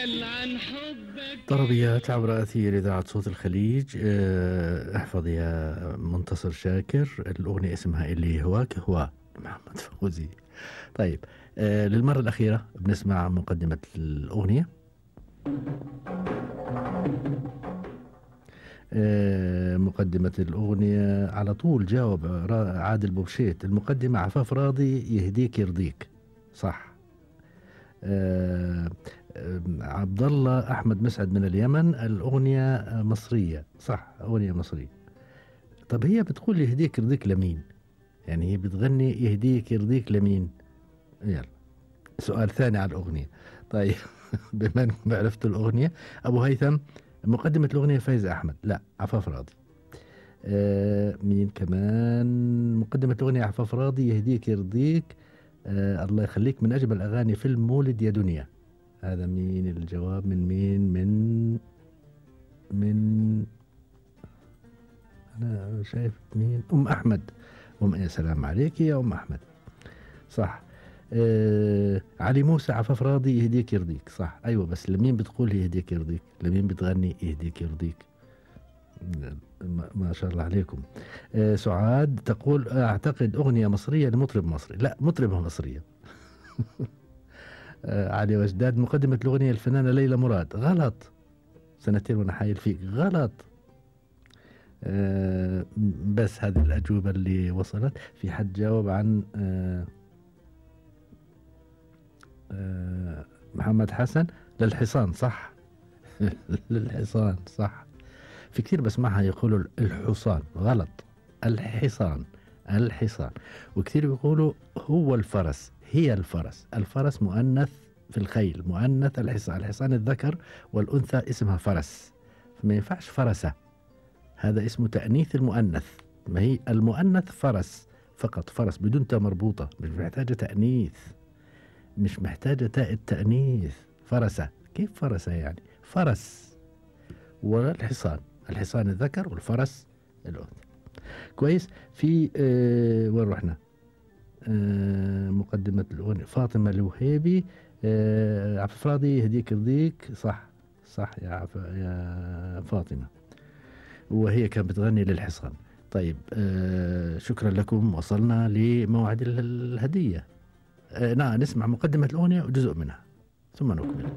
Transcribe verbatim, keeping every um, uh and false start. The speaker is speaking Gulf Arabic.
اسأل عن حبك. طربيات عبر أثير إذاعة صوت الخليج. اه، احفظ يا منتصر شاكر. الأغنية اسمها اللي هواك هو محمد فوزي. طيب، اه للمرة الأخيرة بنسمع مقدمة الأغنية. اه مقدمة الأغنية على طول جاوب عادل بوبشيت. المقدمة عفاف راضي يهديك يرضيك، صح. آه عبد الله احمد مسعد من اليمن، الاغنيه مصريه، صح، اغنيه مصريه. طب هي بتقول يهديك يرضيك لمين؟ يعني هي بتغني يهديك يرضيك لمين؟ يلا سؤال ثاني على الاغنيه. طيب بما انكم عرفتوا الاغنيه، ابو هيثم مقدمه الاغنيه فايز احمد، لا عفاف راضي. آه مين كمان مقدمه الاغنيه؟ عفاف راضي يهديك يرضيك. آه الله يخليك من اجمل اغاني فيلم مولد يا دنيا. هذا مين الجواب؟ من مين؟ من من أنا شايف مين؟ أم أحمد. أم يا سلام عليك يا أم أحمد، صح. آه علي موسى عفاف راضي يهديك يرضيك، صح. أيوة بس لمين بتقول يهديك يرضيك؟ لمين بتغني يهديك يرضيك؟ ما, ما شاء الله عليكم. آه سعاد تقول أعتقد أغنية مصرية لمطرب مصري، لا مطربة مصرية. آه علي وجداد مقدمة الأغنية الفنانة ليلى مراد، غلط. سنتين وانا حايل فيك، غلط. آه بس هذه الأجوبة اللي وصلت. في حد جاوب عن آه آه محمد حسن للحصان، صح. للحصان، صح. في كثير بسمعها يقولوا الحصان، غلط. الحصان، الحصان. وكثير بيقولوا هو الفرس، هي الفرس. الفرس مؤنث في الخيل، مؤنث الحصان. الحصان الذكر والأنثى اسمها فرس، فما ينفعش فرسة، هذا اسمه تأنيث المؤنث. ما هي المؤنث فرس فقط، فرس بدون تاء مربوطة، مش محتاجة تأنيث، مش محتاجة تاء التأنيث. فرسة، كيف فرسة يعني؟ فرس. والحصان، الحصان الذكر والفرس الأنثى. كويس. في آه وين رحنا؟ آه مقدمة الأغنية فاطمة الوهيبي. آه عفاف راضي يهديك يرضيك، صح، صح يا عف... يا فاطمة، وهي كانت بتغني للحصان. طيب آه شكرا لكم، وصلنا لموعد الهدية. آه نعم، نسمع مقدمة الأغنية وجزء منها ثم نكمل.